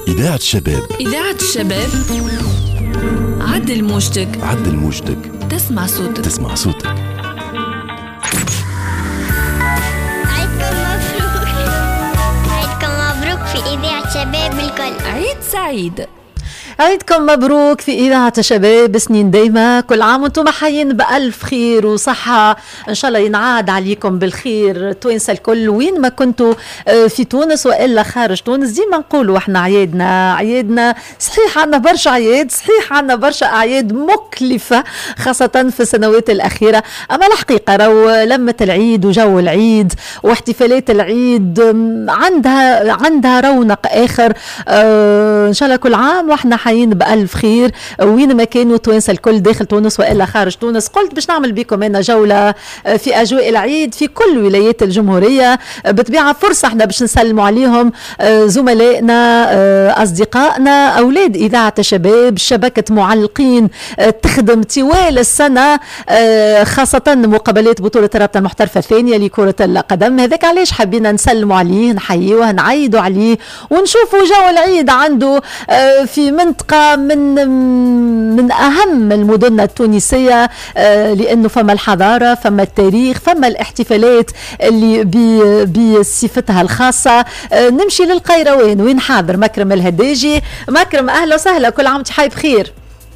إذاعة الشباب. إذاعة الشباب، عدل موجتك. عدل موجتك، تسمع صوتك. تسمع صوتك. عيدكم مبروك، عيدكم مبروك في إذاعة شباب الكل. عيد سعيد. عيدكم مبروك في إذاعة شباب، سنين دايمة، كل عام وانتم حيين بألف خير وصحة، إن شاء الله ينعاد عليكم بالخير توانسة الكل وين ما كنتوا في تونس وإلا خارج تونس. ديما نقولوا احنا عيادنا عيادنا، صحيح عندنا برشا عياد، صحيح عندنا برشا أعياد مكلفة خاصة في السنوات الأخيرة، أما الحقيقة راهو لمة العيد وجو العيد واحتفالات العيد عندها رونق آخر. إن شاء الله كل عام واحنا حيين بألف خير وين ما كانوا توانسة الكل داخل تونس وإلا خارج تونس. قلت باش نعمل بكم أنا جولة في أجواء العيد في كل ولايات الجمهورية، بطبيعة فرصة احنا باش نسلموا عليهم زملائنا أصدقائنا أولاد إذاعة الشباب، شبكة معلقين تخدم طوال السنة خاصة مقابلات بطولة الرابطة المحترفة الثانية لكرة القدم. هذاك علاش حبينا نسلموا عليه، نحيوه، نعيدوا عليه ونشوفوا جو العيد عنده في منطقة من أهم المدن التونسية، لأنه فما الحضارة، فما التاريخ، فما الاحتفالات اللي بصفتها الخاصة. نمشي للقيروان وين حاضر مكرم الهداجي. مكرم أهلا وسهلا، كل عام وانت حي بخير.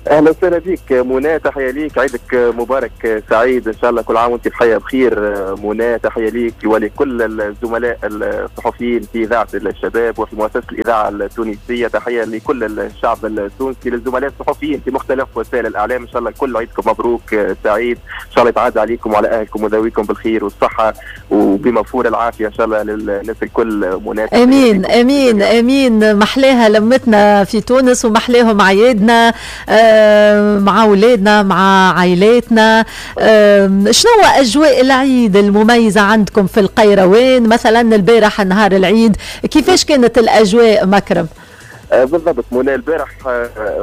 اهلا وسهلا بك منى، تحية ليك، عيدك مبارك سعيد ان شاء الله، كل عام وانت بحياة بخير منى. تحية ليك ولكل الزملاء الصحفيين في اذاعة الشباب وفي مؤسسة الاذاعة التونسية، تحية لكل الشعب التونسي، للزملاء الصحفيين في مختلف وسائل الاعلام. ان شاء الله كل عيدكم مبروك سعيد، ان شاء الله يتعاد عليكم وعلى اهلكم وذويكم بالخير والصحة وبمفور العافية ان شاء الله للناس الكل منى. امين امين امين. محلاها لمتنا في تونس ومحلاهم عيادنا مع أولادنا مع عائلاتنا. شنو أجواء العيد المميزة عندكم في القيروان مثلا؟ البارح نهار العيد كيفاش كانت الأجواء مكرم؟ بالضبط منى، البارح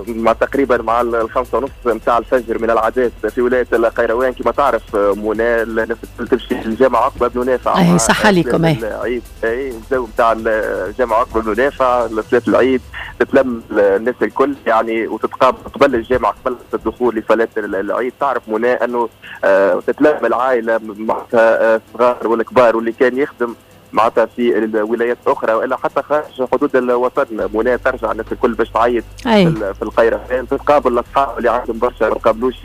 مع تقريبا مع 5:30 نتاع الفجر من العادات في ولاية القيروان كما تعرف منى، الناس تمشي للجامع عقبه بن نافع. اي صح عليكم. اي اي الجو نتاع الجامع عقبه بن نافع لصلاة العيد، تتلم الناس الكل يعني وتتقابل قبل الجامع قبل الدخول لصلاة العيد. تعرف منى انه تتلم العائلة معناتها الصغار والكبار واللي كان يخدم معناتها في الولايات الاخرى والا حتى خارج حدود الوطن منى، ترجع الناس الكل باش تعيد في القيروان، تتقابل الاصحاب اللي عندهم برشا ما قابلوش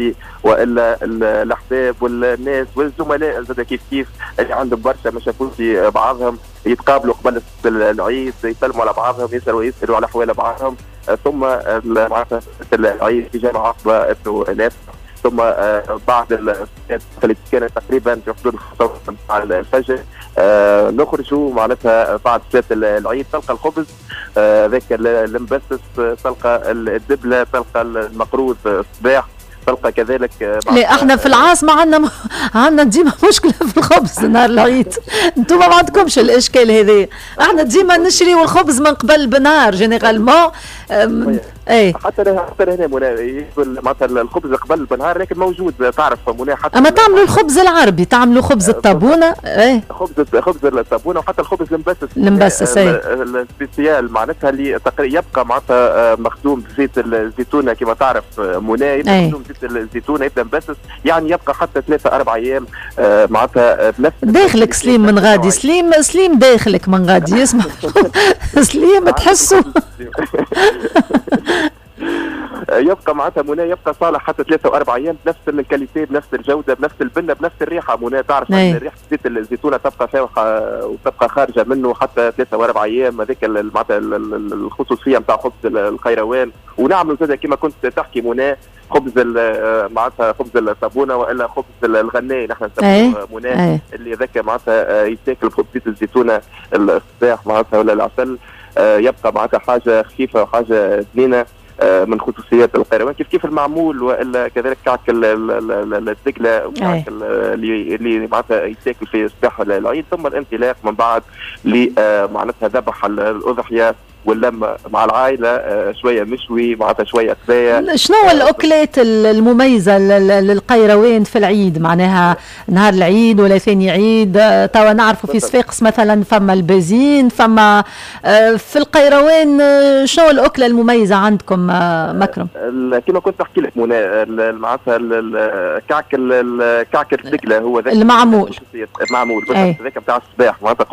والا الاحباب والناس والزملاء زاد كيف كيف اللي عندهم برشا ما شافوش بعضهم، يتقابلوا قبل العيد، يسلموا على بعضهم، يسالوا على احوال بعضهم. ثم معناتها العيد في جامع عقبه بن نافع، ثم بعد اللي كانت تقريبا في حدود 5 الفجر نخرجوا معناتها بعد صلاة العيد، تلقى الخبز ذاك المبسس، تلقى الدبله، تلقى المقروض الصباح، تلقى كذلك. لا احنا في العاصمة عندنا ديما مشكلة في الخبز نهار العيد، انتم ما عندكمش الاشكال هذا. احنا ديما نشريو الخبز من قبل بنهار généralement. اي حتى هنا منى معناتها الخبز قبل بنهار، لكن موجود تعرف منى. حتى اما تعملوا الخبز العربي، تعملوا خبز الطابونه. اي خبز الطابونه وحتى الخبز المبسس. المبسس اي ال spécial معناتها اللي يبقى معناتها مخدوم بزيت الزيتونه كما تعرف منى، يبقى مخدوم بزيت الزيتونه، يبدا مبسس يعني يبقى حتى 3-4 ايام معناتها بنفس. داخلك سليم من غادي، سليم داخلك من غادي يسمع سليم تحسه يبقى معناتها منى يبقى صالح حتى 3 و4 ايام بنفس ال qualité، بنفس الجودة، بنفس البنه، بنفس الريحة منى. تعرف ان ريحه زيت الزيتونه تبقى فاوحه وتبقى خارجه منه حتى 3 و4 ايام. هذيك معناتها الخصوصية نتاع خبز القيروان. ونعملوا زاد كما كنت تحكي منى خبز معناتها خبز الطابونه والا خبز الغناي نحن نسموه منى، اللي ذاك معناتها يتاكل بزيت الزيتونه الصباح معناتها ولا العسل، يبقى معناتها حاجة خفيفة وحاجه بنينه من خصوصيات القيروان. كيف كيف المعمول والا كذلك كعك الدقله وكعك اللي معناتها يتاكل في صباح العيد. ثم الانطلاق من بعد لمعناتها ذبح الاضحية واللمه مع العائلة، شوية مشوي معناتها شوية قضايا. شنو الاكلات المميزة للقيروان في العيد؟ معناها نهار العيد ولا ثاني عيد؟ توا نعرفوا في صفاقس مثلا فما البازين، فما في القيروان شنو الاكلة المميزة عندكم مكرم؟ كما كنت نحكي لك منى، معناتها الكعك الدقله هو ذاك المعمول، المعمول هذاك نتاع الصباح معناتها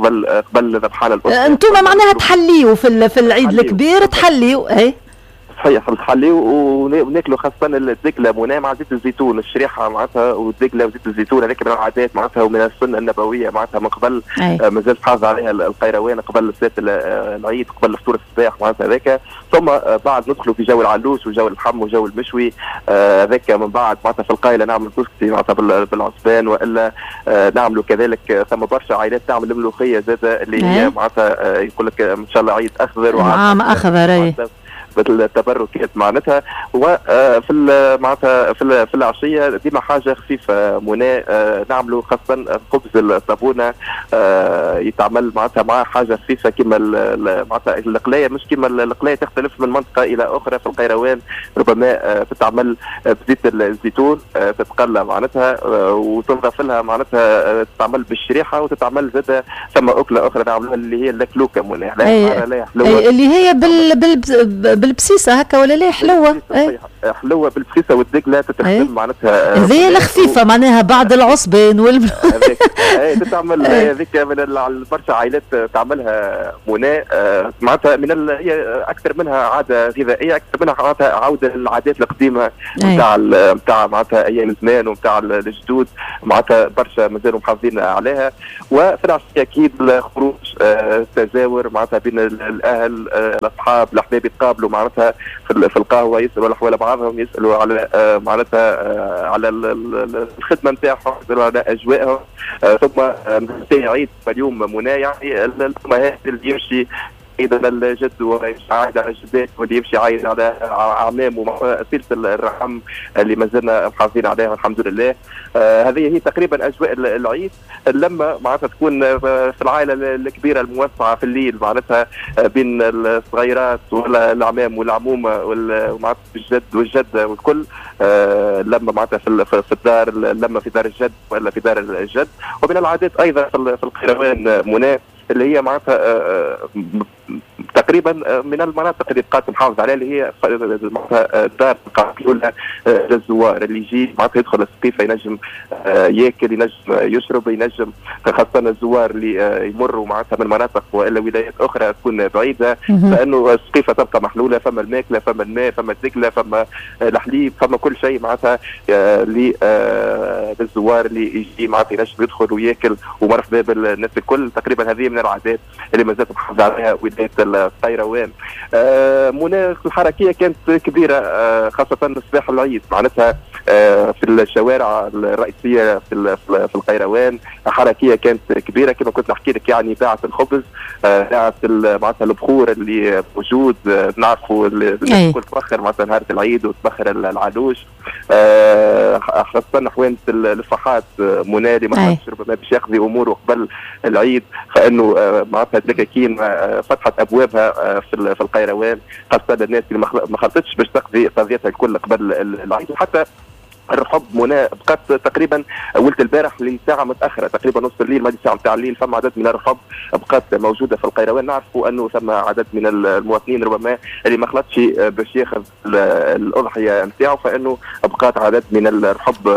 قبل ذبحان الأسرة. انتم معناها تحليوا في العيد الكبير تحليوا؟ اي صحيح، نحليو وناكلوا خاصة الدقلة منى مع زيت الزيتون، الشريحة معناتها والدقلة وزيت الزيتون، هذاك من العادات معناتها ومن السنة النبوية معناتها من قبل، مازال حافظ عليها القيروان قبل صلاة العيد، قبل فطور الصباح معناتها هذاك. ثم بعد ندخلوا في جو العلوش وجو اللحم وجو المشوي هذاك. من بعد معناتها في القايلة نعمل كسكسي معناتها بالعصبان، والا نعملوا كذلك ثم برشا عائلات تعمل الملوخية زادة اللي هي معناتها يقول لك ان شاء الله عيد أخضر وعام أخضر بالتبركات معناتها. وفي معناتها في العشية ديما حاجة خفيفة منى، نعملوا خاصة خبز الطابونه يتعمل معناتها مع حاجة خفيفة كما معناتها القلايه، مش كما القلايه تختلف من منطقة الى اخرى. في القيروان ربما تتعمل بزيت الزيتون، تتقلى معناتها وتنضاف لها معناتها، تتعمل بالشريحه وتتعمل زاده. ثم اكله اخرى نعملوها اللي هي اللكلوكه منى، اللي هي بالبسيسه هكا ولا لا؟ حلوة حلوة بالبسيسه والدقله تتخدم معناتها. هذه الخفيفة معناها بعد العصبان وال تتعمل هذيك من برشا عائلات تعملها منى معناتها من هي اكثر منها عادة غذائية، اكثر منها معناتها عوده للعادات القديمة نتاع معناتها ايام زمان ونتاع الجدود، معناتها برشا مازالوا محافظين عليها. وفي العشية اكيد الخروج، التزاور معناتها بين الاهل، الاصحاب، الاحباب يتقابلوا معناتها في القهوة، يسالوا على احوال بعضهم، يسالوا على معناتها على الخدمة نتاعهم، يسالوا على اجوائهم. ثم عيد اليوم منى يعني الامهات اللي يمشي عيد على الجد ويمشي عايد على الجدات واللي يمشي عايد على اعمامه، سلسلة الرحم اللي ما زلنا محافظين عليها الحمد لله. هذه هي تقريبا اجواء العيد. اللمة معناتها تكون في العائلة الكبيرة الموسعه في الليل معناتها بين الصغيرات والاعمام والعمومه ومعناتها الجد والجدة والكل. اللمة معناتها في الدار، اللمة في دار الجد ولا في دار الجد. ومن العادات ايضا في القيروان منى اللي هي معناتها تقريبا من المناطق اللي بقات محافظة عليها، اللي هي معناتها دار الاولى للزوار اللي يجي معناتها يدخل السقيفه ينجم ياكل، ينجم يشرب، ينجم خاصة الزوار اللي يمروا معناتها من مناطق والا ولايات اخرى تكون بعيدة، فانه السقيفه تبقى محلولة، فما الماكلة، فما الماء، فما الدقله، فما الحليب، فما كل شيء معناتها للزوار اللي يجي معناتها ينجم يدخل وياكل ومرحبا بالناس الكل. تقريبا هذه من العادات اللي ما زالت محافظة عليها ولاية القيروان. منى الحركية كانت كبيرة خاصة صباح العيد معناتها في الشوارع الرئيسية في القيروان حركية كانت كبيرة كما كنت نحكي لك، يعني باعت الخبز، باعت معناتها البخور اللي موجود، نعرفوا الكل تبخر معناتها نهار العيد وتبخر العلوش، خاصة حوانت الفحات منى اللي ما ربما باش يقضي اموره قبل العيد، فانه معناتها الدكاكين فتحت ابوابها في القيروان خاصة الناس اللي ما خلطتش باش تقضي قضيتها الكل قبل العيد. وحتى الرحب منى بقت تقريبا ولت البارح لساعة متاخرة تقريبا نص الليل، ما ساعة نتاع الليل، فما عدد من الرحب بقت موجودة في القيروان. نعرفوا انه ثم عدد من المواطنين ربما اللي ما خلطش باش ياخذ الاضحية نتاعو، فانه بقات عدد من الرحب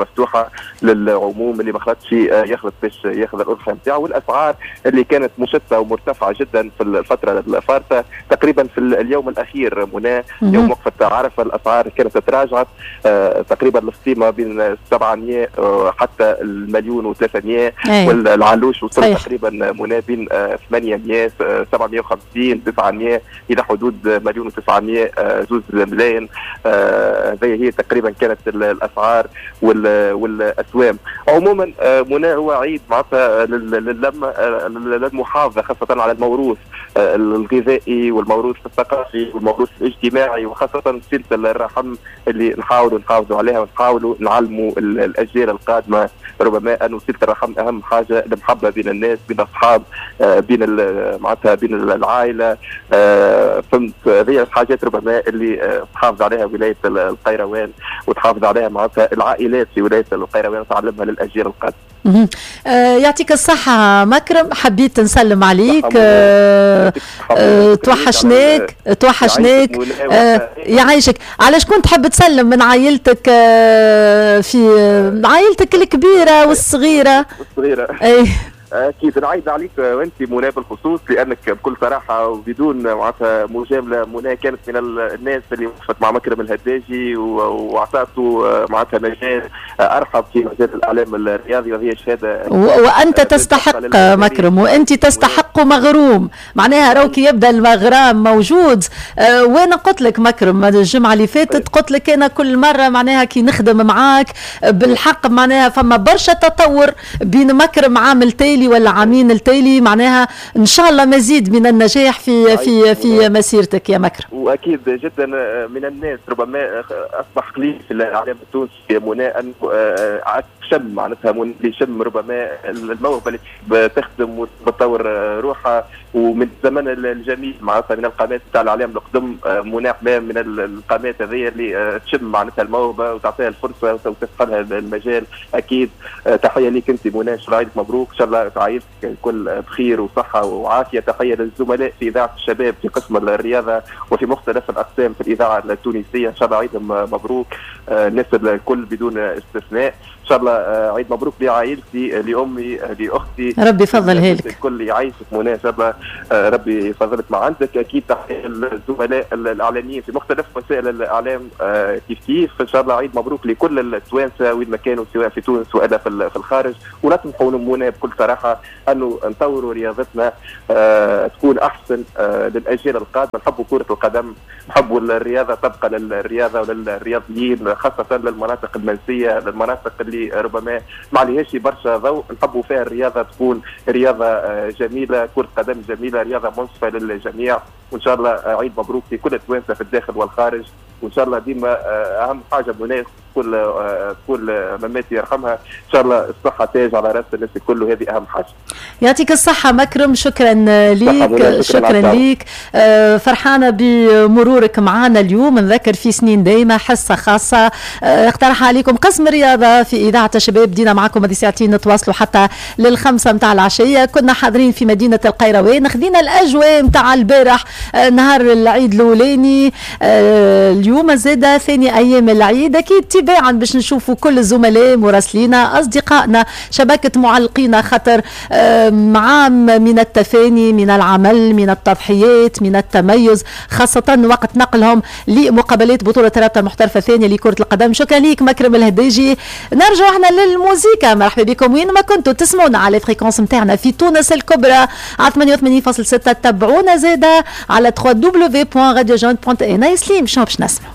مفتوحة للعموم اللي ما خلطش يخلط باش ياخذ الاضحية نتاعو. والاسعار اللي كانت مشتتة ومرتفعه جدا في الفترة الفارطه تقريبا في اليوم الاخير منى، يوم وقفه عرفه، الاسعار كانت تراجعت تقريبا القيمة بين 700 حتى 1,300,000، والعلوش وصل تقريبا منى بين 800 750 900 الى حدود 1,900,000 2 ملايين. هذه هي تقريبا كانت الاسعار والاسوام. عموما منى هو عيد معناتها للمه، للمحافظة خاصة على الموروث الغذائي والموروث الثقافي والموروث الاجتماعي، وخاصة سلسلة الرحم اللي نحاولوا نحافظوا عليها. ونحاولوا نعلموا الاجيال القادمة ربما انه صله الرحم اهم حاجة، المحبة بين الناس، بين الاصحاب، بين معناتها بين العائلة. فهمت، هذه الحاجات ربما اللي تحافظ عليها ولاية القيروان وتحافظ عليها معناتها العائلات في ولاية القيروان وتعلمها للاجيال القادمة. يعطيك الصحة مكرم، حبيت نسلم عليك. توحشناك توحشناك. يعيشك. على شكون تحب تسلم من عائلتك، في عائلتك الكبيرة والصغيرة؟ الصغيرة اي اكيد نعيد عليك وانت منى بالخصوص، لانك بكل صراحة وبدون معناتها مجاملة منى كانت من الناس اللي وقفت مع مكرم الهداجي واعطاته معناتها مجال ارحب في مجال الاعلام الرياضي، وهي شهادة. وانت تستحق مكرم، وانت تستحق مغروم، معناها راهو كي يبدا المغرام موجود. وانا قلت لك مكرم الجمعة اللي فاتت، قلت لك انا كل مرة معناها كي نخدم معاك بالحق معناها فما برشا تطور بين مكرم عام التالي ولا عامين التالي، معناها ان شاء الله مزيد من النجاح في في في مسيرتك يا مكرم. واكيد جدا من الناس ربما اصبح قليل في الاعلام التونسي منى انه شم معناتها اللي يشم ربما الموهبة اللي تخدم وتطور روحها، ومن الزمن الجميل معناتها من القناة تاع الاعلام القدم منى حمام من القناة هذه اللي تشم معناتها الموهبة وتعطيها الفرصة وتفتح لها المجال. اكيد تحية ليك انت منى، عيدك مبروك، ان شاء الله عائلتك الكل بخير وصحة وعافيه. تحية للزملاء في اذاعة الشباب في قسم الرياضة وفي مختلف الاقسام في الاذاعة التونسية، ان شاء الله عيدهم مبروك الناس الكل بدون استثناء. ان شاء الله عيد مبروك لعائلتي، لامي، لاختي، ربي يفضلها لك الكل. يعيشك مناسبة، ربي يفضلك ما عندك. اكيد تحية للزملاء الاعلاميين في مختلف وسائل الاعلام كيف كيف. ان شاء الله عيد مبروك لكل التوانسة وين ما كانوا، سواء في تونس والا في الخارج. ونطمحوا منى بكل صراحة انه نطوروا رياضتنا تكون احسن للاجيال القادمة. نحبوا كره القدم، نحبوا الرياضة تبقى للرياضة وللرياضيين، خاصة للمناطق المنسيه، للمناطق اللي ربما ما عليهاش برشا ضوء، نحبوا فيها الرياضة تكون رياضة جميلة، كره قدم جميلة، رياضة منصفة للجميع. وان شاء الله عيد مبروك لكل التوانسة في الداخل والخارج. وان شاء الله ديما اهم حاجة منى كل مماتي يرحمها، ان شاء الله الصحة تاج على راس الناس الكل، وهذه اهم حاجة. يعطيك الصحة مكرم، شكرا ليك، شكرا ليك. فرحانة بمرورك معنا اليوم. نذكر في سنين دايمه حصة خاصة اقترح عليكم قسم الرياضة في اذاعة الشباب، دينا معكم هذه ساعتين نتواصلوا حتى للخمسة متاع العشية. كنا حاضرين في مدينة القيروان، خذينا الاجواء متاع البارح نهار العيد الاولاني، اليوم زاده ثاني ايام العيد، اكيد تباعا باش نشوفوا كل الزملاء مراسلينا اصدقائنا شبكة معلقينا، خاطر عام من التفاني، من العمل، من التضحيات، من التميز، خاصة وقت نقلهم لمقابلات بطوله الرابطة المحترفه الثانية لكرة القدم. شكرا ليك مكرم الهداجي. نرجع احنا للموسيقى. مرحبا بكم وين ما كنتوا تسمعونا على fréquence نتاعنا في تونس الكبرى على 88.6، تبعونا زاده على www.radiojeune.na. سليم شنو باش نسمعوا؟